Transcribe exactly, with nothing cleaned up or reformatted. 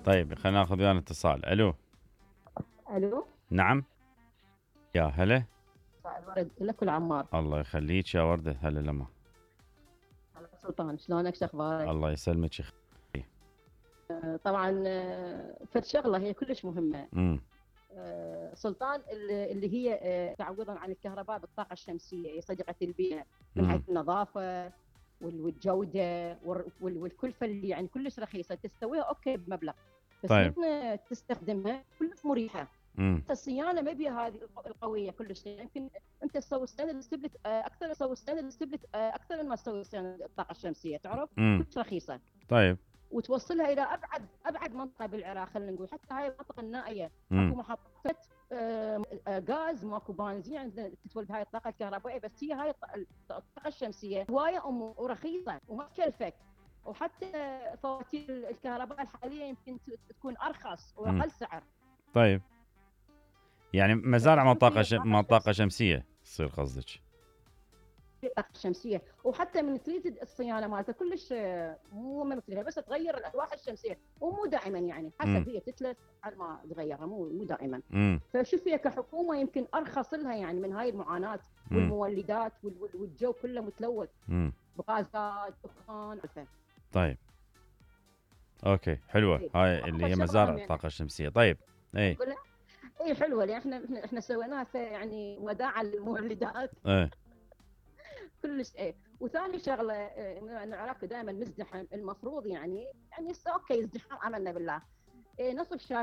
طيب خلينا ناخذ ويانا اتصال. الو. الو. نعم. يا هلا. مساء الورد لك والعمار. الله يخليك يا وردة. هلا لما. هلا سلطان، شلونك؟ شو اخبارك؟ الله يسلمك. آه، طبعا آه، فد شغله هي كلش مهمه. امم آه، سلطان اللي اللي هي آه، تعويضا عن الكهرباء بالطاقه الشمسيه، هي صديقه البيئه من حيث امم النظافه وال- والجوده وال- وال- والكلفه اللي يعني كلش رخيصه، تستويها اوكي بمبلغ، بس طيب. من تستخدمها كلش مريحه. امم الصيانه ما بيها هذه الق- القويه كلش، يمكن انت تسوي صيانه للستبلت اكثر، تسوي صيانه للستبلت اكثر من ما تسوي صيانه الطاقه الشمسيه، تعرف؟ امم كلش رخيصه، طيب. وتوصلها الى ابعد ابعد منطقه بالعراق، خلينا نقول حتى هاي المنطقه النائيه امم اكو محطه آه، آه، غاز، ماكو بنزين عندنا تتولد هاي الطاقه الكهربائيه، بس هي هاي الط- الطاقه الشمسيه هوايه أم- ورخيصه وما تكلفك، وحتى فواتير الكهرباء الحاليه يمكن ت- تكون ارخص امم واقل سعر. طيب. يعني مزارع فشوف منطقة هي ش... الطاقه منطقة الشمسيه، شمسية تصير قصدك؟ الطاقه الشمسيه، وحتى من تريد الصيانه مالتها كلش آه، مو مثلها، بس تغير الالواح الشمسيه ومو دائما، يعني امم حسب هي تتلف على ما تغيرها، مو مو دائما. امم فشوف هي كحكومه يمكن ارخص لها يعني من هاي المعاناه امم والمولدات وال- وال- والجو كله متلوث امم بغازات دخان. طيب. اوكي حلوة إيه. هاي اللي واكبر هي شغله مزارع هم يعني الطاقة الشمسية. طيب. اي. نقول اي حلوه، لان احنا احنا إحنا سويناها في- يعني وداعا للمولدات ايه. كلش. ايه. وثاني شغله إيه، إنه العراق دائما مزدحم، المفروض يعني يعني هسه اوكي ازدحام املنا بالله، إيه، نصف شاشه